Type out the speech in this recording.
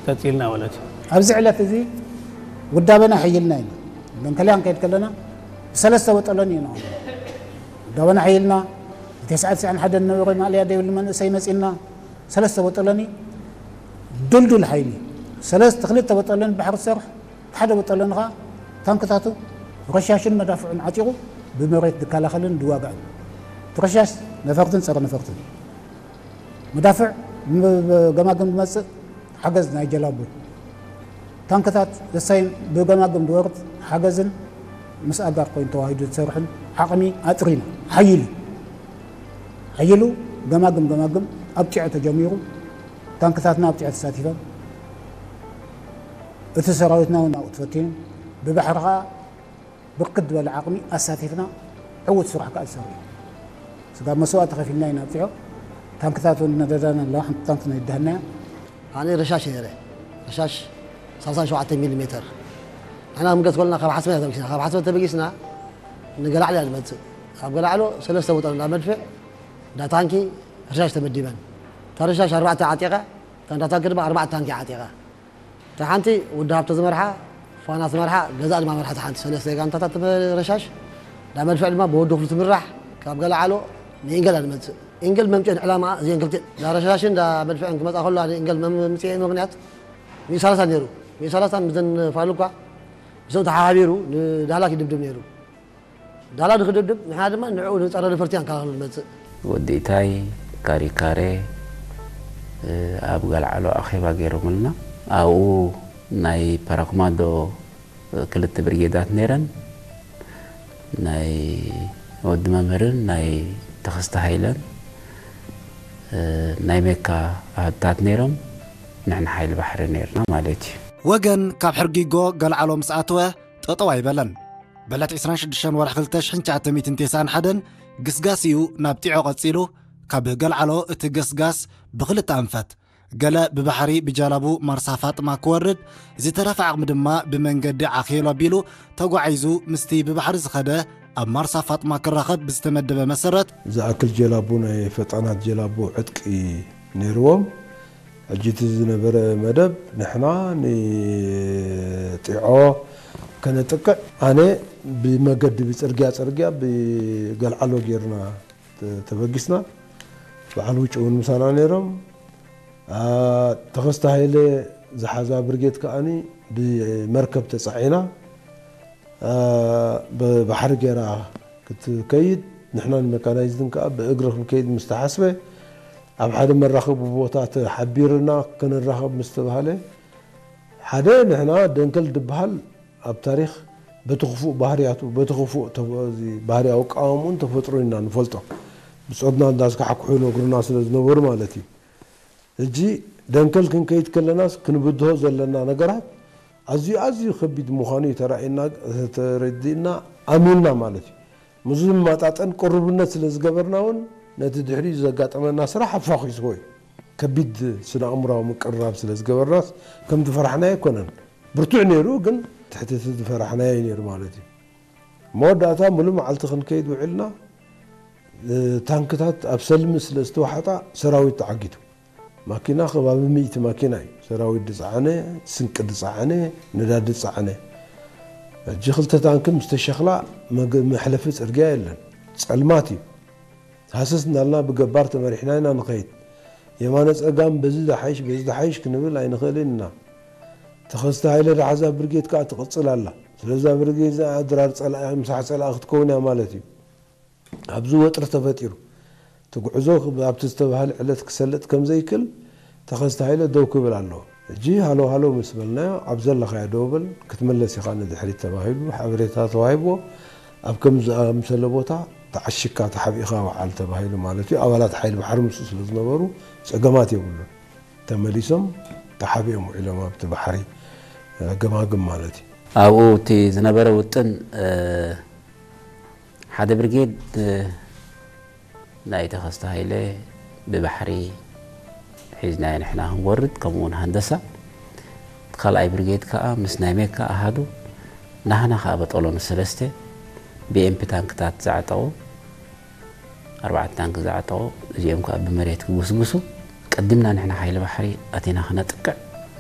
ቀፂልና ማለት እዩ። ኣብዚ ዕለት እዚ ውዳበና ሓይልና ኢና። ደንከልያ ክንከይድ ከለና ብሰለስተ በጠሎኒ ኢና ውዳበና ሓይልና ተስዓ ተስዓን ሓደ ነበረ ማእለያ ዘይብሉ መንእሰይ መፂና ሰለስተ በጠሎኒ ድልዱል ሓይሊ ሰለስተ ክልተ በጠሎኒ ባሕሪ ዝሰርሕ ሓደ በጠሎኒ ከዓ ታንክታቱ ረሻሽን መዳፍዑን ዓጢቑ ብመሬት ዝከላኸልን ዝዋጋእን ረሻሽ ነፈርትን ፀረ ነፈርትን መዳፍዕ ገማግም ዝመፅእ ሓገዝ ናይ ጀላቡ ታንክታት ዘሳይን ብገማግም ዝወርድ ሓገዝን ምስ ኣጋር ኮይኑ ተዋሂዱ ዝሰርሕን ዓቕሚ ኣጥሪና ሓይሉ ሓይሉ ገማግም ገማግም ኣብ ጢዖ ተጀሚሩ ታንክታትና ኣብ ጢዖ ተሳቲፈን እቲ ሰራዊትና እውን ኣብኡ ተፈቲኑ ብባሕሪ ከዓ ብርክት ዝበለ ዓቕሚ ኣሳቲፍና ዕዉት ስራሕ ከዓ ዝሰርሑ ስጋብ መስዋእቲ ከፊልና ኢና ኣብፂሖ ታንክታት እውን ነደዳና ኣለዋ ሓንቲ ታንክ ነይዳህናያ ኣነ ረሻሽ ነይረ ረሻሽ 37 ሚሊ ሜተር ንሕና ምገት ኮልና ካብ ሓስመ ተበጊስና ካብ ሓስመ ተበጊስና ንገላዕሎ እያ ንመፅእ ካብ ገላዕሎ ሰለስተ ውጠር እንዳ መድፍዕ እንዳ ታንኪ ረሻሽ ተመዲበን እታ ረሻሽ ኣርባዕተ ዓጢቐ እታ እንዳ ታንኪ ድማ ኣርባዕተ ታንኪ ዓጢቐ እታ ሓንቲ ውዲ ሃብተ ዝመርሓ ፋና ዝመርሓ ገዛ ድማ መርሓ ሓንቲ ሰለስተ ጋንታታት ረሻሽ እንዳ መድፍዕ ድማ ብወዲ ክፍሉ ትምራሕ ካብ ገላዕሎ ንኢንገል እያ ንመፅእ ኢንገል መምፅኤን ዕላማ እዚአን ክልተ እንዳ ረሻሽን እንዳ መድፍዕን ክመፃ ከሎ ኣነ ኢንገል መምፅኤ ምክንያት ሚሳላሳ ነይሩ ሚሳላሳ ምዘን ፋሉ እኳ ምስኦም ተሓባቢሩ ንዳህላክ ይድብድብ ነይሩ ዳላ ንክድብድብ ንሕና ድማ ንዕኡ ንፀረ ነፈርቲ ኣንከላኸሉ ንመፅእ ወዲ ኢታይ ካሪካሬ ኣብ ገልዓሎ ኣኼባ ገይሮምልና ኣብኡ ናይ ፓራኩማዶ ክልተ ብርጌዳት ነይረን ናይ ወዲ መምህርን ናይ ተኸስተ ሃይለን ናይ ሜካ ኣሃዱታት ነይሮም ንሕና ሓይሊ ባሕሪ ነይርና ማለት እዩ። ወገን ካብ ሕርጊጎ ገልዓሎ ምስ ኣተወ ጠጠው ኣይበለን። ብዕለት ዕስራን ሽዱሽተን ወርሒ ክልተ ሽሕን ትሽዓተ ሚእትን ተስዓን ሓደን ግስጋስ እዩ ናብ ጢዖ ቀጺሉ። ካብ ገልዓሎ እቲ ገስጋስ ብኽልተ ኣንፈት፣ ገለ ብባሕሪ ብጃላቡ ማርሳ ፋጥማ ክወርድ፣ ዝተረፈ ዓቕሚ ድማ ብመንገዲ ዓኼሎ ኣቢሉ ተጓዒዙ ምስቲ ብባሕሪ ዝኸደ ኣብ ማርሳ ፋጥማ ክራኸብ ብዝተመደበ መሰረት፣ ዝኣክል ጀላቡ ናይ ፈጣናት ጀላቡ ዕጥቂ ነይርዎም። ሕጂ እቲ ዝነበረ መደብ ንሕና ንጢዖ ከነጥቅዕ ኣነ ብመገዲ ብፅርግያ ፅርግያ ብገልዓሎ ጌርና ተበጊስና። በዓል ውጭ እውን ምሳና ነይሮም። ተኸስተ ሃይለ ዝሓዛ ብርጌድ ከዓኒ ብመርከብ ተፃዒና ብባሕሪ ገይራ ክትከይድ ንሕናን መካናይዝድን ከዓ ብእግሪ ክንከይድ ምስ ተሓስበ ኣብ ሓደ መራኸቢ ቦታ ተሓቢርና ክንራኸብ ምስ ተባህለ ሓደ ንሕና ደንከል ድበሃል ኣብ ታሪኽ በቲ ክፉእ ባህርያቱ በቲ ክፉእ ባህሪ ኣውቃወምኡን ተፈጥሮ ኢና ንፈልጦ ብጾትና እንዳስካሕኩሑ ነግሩና ስለ ዝነበሩ ማለት እዩ ሕጂ ደንከል ክንከይድ ከለናስ ክንብድሆ ዘለና ነገራት ኣዝዩ ኣዝዩ ከቢድ ምዃኑ እዩ ተራእየና ተረዲእና ኣሚንና ማለት እዩ። ምስዚ ዝመጣጠን ቅሩብነት ስለ ዝገበርና እውን ነቲ ድሕሪኡ ዘጋጠመና ስራሕ ኣፋኺስዎ እዩ። ከቢድ ስነ ኣእምራዊ ምቅርራብ ስለ ዝገበርናስ ከም ዝፈራሕናዮ ኣይኮነን። ብርቱዕ ነይሩ ግን ትሕቲ እቲ ዝፈራሕናዮ እዩ ነይሩ ማለት እዩ። መወዳእታ ሙሉእ መዓልቲ ክንከይድ ውዒልና ታንክታት ኣብ ሰልሚ ስለ ዝተዋሕጣ ሰራዊት ተዓጊቱ። ማኪና ከባቢ ሚእቲ ማኪና እዩ ሰራዊት ዝፀዓነ፣ ስንቂ ዝፀዓነ፣ ነዳዲ ዝፀዓነ። ሕጂ ክልተ ታንኪ ምስ ተሸኽላ መግ- መሕለፊ ፅርግያ የለን። ፀልማት እዩ። ሃሰስ እናልና ብገባር ተመሪሕና ኢና ንኸይድ። የማነ ፀጋም በዚ ዝሓይሽ በዚ ዝሓይሽ ክንብል ኣይንኽእልን ኢና። ተኸስተ ሃይለ ዝሓዛ ብርጌድ ከዓ ትቕፅል ኣላ። ስለዛ ብርጌድ እዚኣ ድራር ፀላኢ ምሳሕ ፀላኢ ክትከውን እያ ማለት እዩ። ኣብዚ ወጥሪ ተፈጢሩ። እቲ ጉዕዞ ኣብቲ ዝተባህለ ዕለት ክሰልጥ ከም ዘይክል ተኸስተ ሃይለ ደው ክብል ኣለዎ። ሕጂ ሃሎ ሃሎ ምስ በልናዮ ኣብ ዘለኻዮ ደው በል ክትምለስ ኢኻ ንድሕሪት ተባሂሉ ሓበሬታ ተዋሂብዎ። ኣብ ከም ዝኣምሰለ ቦታ ተዓሽግካ ተሓቢእኻ ውዓል ተባሂሉ ማለት እዩ። ኣባላት ሓይሊ ባሕሪ ምስኡ ስለ ዝነበሩ ጸገማት የብሉን። ተመሊሶም ተሓቢኦም ውዒሎም ኣብቲ ባሕሪ ገማግም ማለት እዩ። ኣብኡ እቲ ዝነበረ ውጥን ሓደ ብርጌድ ናይ ተኸስተ ሃይለ ብባሕሪ ሒዝናዮ ንሕና ክንወርድ ከምኡ እውን ሃንደሳ እቲ ካልኣይ ብርጌድ ከዓ ምስ ናይ ሜካ ኣሃዱ ናህና ከዓ በጠሎኒ ሰለስተ ብኤምፒ ታንክታት ዝዓጠቑ ኣርባዕተ ታንክ ዝዓጠቑ እዚኦም ከዓ ብመሬት ክጉስጉሱ ቀዲምና ንሕና ሓይሊ ባሕሪ ኣቲና ክነጥቅዕ